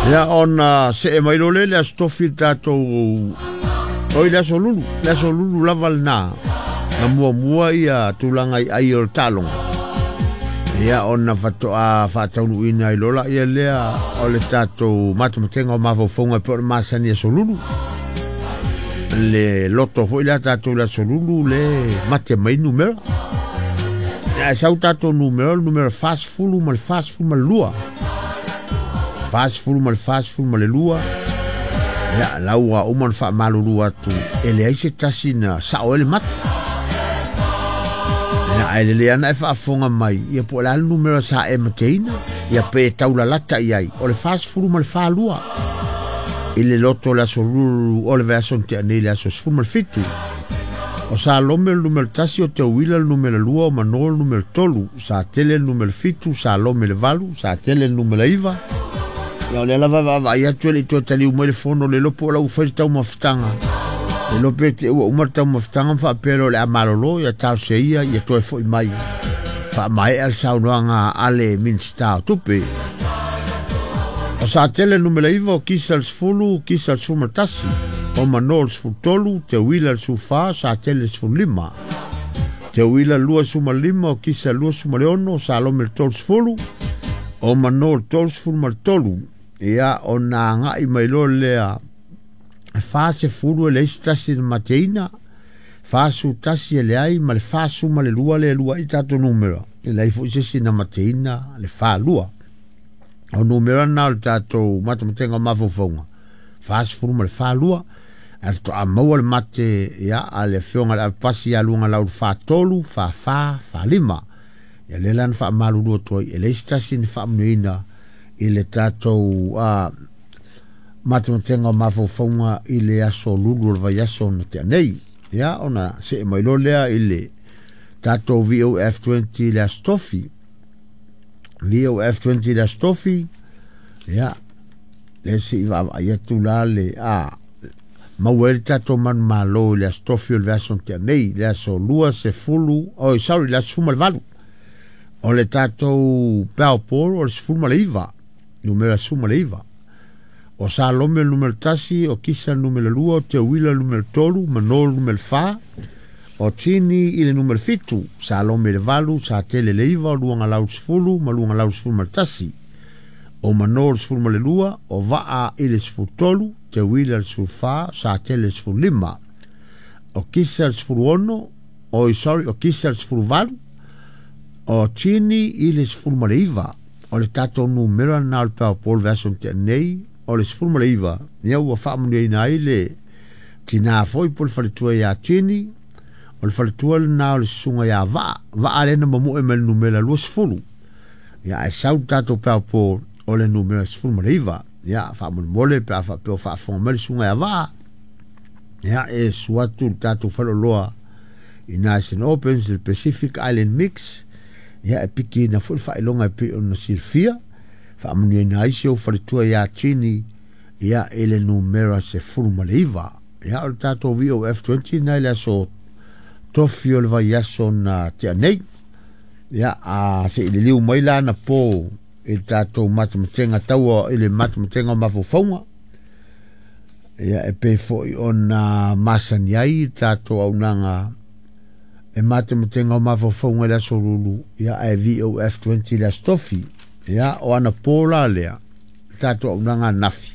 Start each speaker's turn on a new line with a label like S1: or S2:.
S1: Ia ona see mai loa lea i le Aso Tofi i le tatou oi le Aso Lulu, le Aso Lulu lava lena na muamua ia tulaga i ai o le taaloga. Ia ona faatoa faataunuuina ai loa laia lea o le tatou matematega o mafaufauga e pei o le masani Aso Lulu. Le loto foi lea tatou i le Aso Lulu le mate mai numera. Ae sau tatou numera, o le numera 40 ma le 42. 40 ma le 42. Ia, la ua uma ona faamalulu atu, e leai se tasi na sao ai le mate. Ia, ae lelei lava ona e faafofoga mai, ia po o le a le numera sa e mateina, ia pe e taulalata i ai, o le 40 ma le 42. I le loto o le aso lulu o le vaiaso na tea nei i le aso 17. O Salome le numera 1, o Teuila le numera 2, o Mano le numera 3, Satele le numera 7, Salome le 8, Satele le numera 9. Ia o lea lava e vaavaai atu e le i toe taliu mai le fono le iloa po o la ua fai le taumafataga. Le iloa pe te ua uma le taumafataga ma faapea loa o le a malolo, ia talosia ia ia toe foi mai faamaea le saunoaga a le Minisita o Tupe. O Satele le numera 9, o Kisa le 10, Kisa le 11, o Mano le 13, Teuila le 14, Satele le 15. Teuila le 25, o Kisa le 26, Salome le 30, o Mano le 33. Ia, ona agai mai loa lea, e 40 e leai se tasi na mateina, 41 e leai, ma le 42 lea e lua ai tatou numera, e leai foi se isi na mateina le 42. O numera na o le tatou matematega o mafaufauga, 40 ma le 42, ae faatoa maua le mate ia, a le afioga i le avepasi ia Luagalau le 43, 44, 45. Ia lea la na faamalulu atu ai, e leai se tasi na faamanuiaina i le tatou matematega o mafaufauga i le aso lulu o le vaiaso na tea nei. Ia, ona see mai loa lea i le tatou VOF20 i le Aso Tofi. VOF20 i le Aso Tofi, ia, lea se i vaavaai atu la le maua ai le tatou manumalo i le Aso Tofi o le vaiaso na tea nei, le aso 20, oh sorry, le aso 18. O le tatou Powerball o le 19, numera 19. O Salome le numera 1, o Kisa le numera 2, o Teuila le numera 3, Mano le numera 4, o Tini i le numera 7, Salome le 8, Satele le 9, o Luagalau le 10 ma Luagalau le 11. O Mano le 12, o Vaa i le 13, Teuila le 14, Satele le 15. O Kisa le 16, oi sorry, o Kisa le 18, o Tini i le 19. O le tatou numera lena o le Powerball vaiaso na tea nei, o le 19, ia ua faamanuiaina ai le tina foi po o le faletua ia Tini, o le faletua lena o le susuga ia Vaa, Vaa lea na mamoe mai le numera 20. Ia ae sau le tatou Powerball o le numera 19. Ia faamolemole pe a faapea o faafofoga mai le susuga ia Vaa, ia e susu atu le tatou faleoloa i Nice and Opens, le Pacific Island Mix, ia e pikiina foi le faailoga e pei ona silafia, faamanuiaina ai si ou faletua ia Tini, ia i le numera 19. Ia o le tatou VOF20 na i le aso Tofi o le vaiaso na tea nei. Ia a se i liliu mai la na po i le tatou matematega taua i le matematega o mafaufauga. Ia e pei foi ona masani ai le tatou auaunaga e matematega o mafaufauga i le aso Lulu, ia ae VOF20 i le aso Tofi. Ia o anapo la lea, le tatou auaunaga ananafi.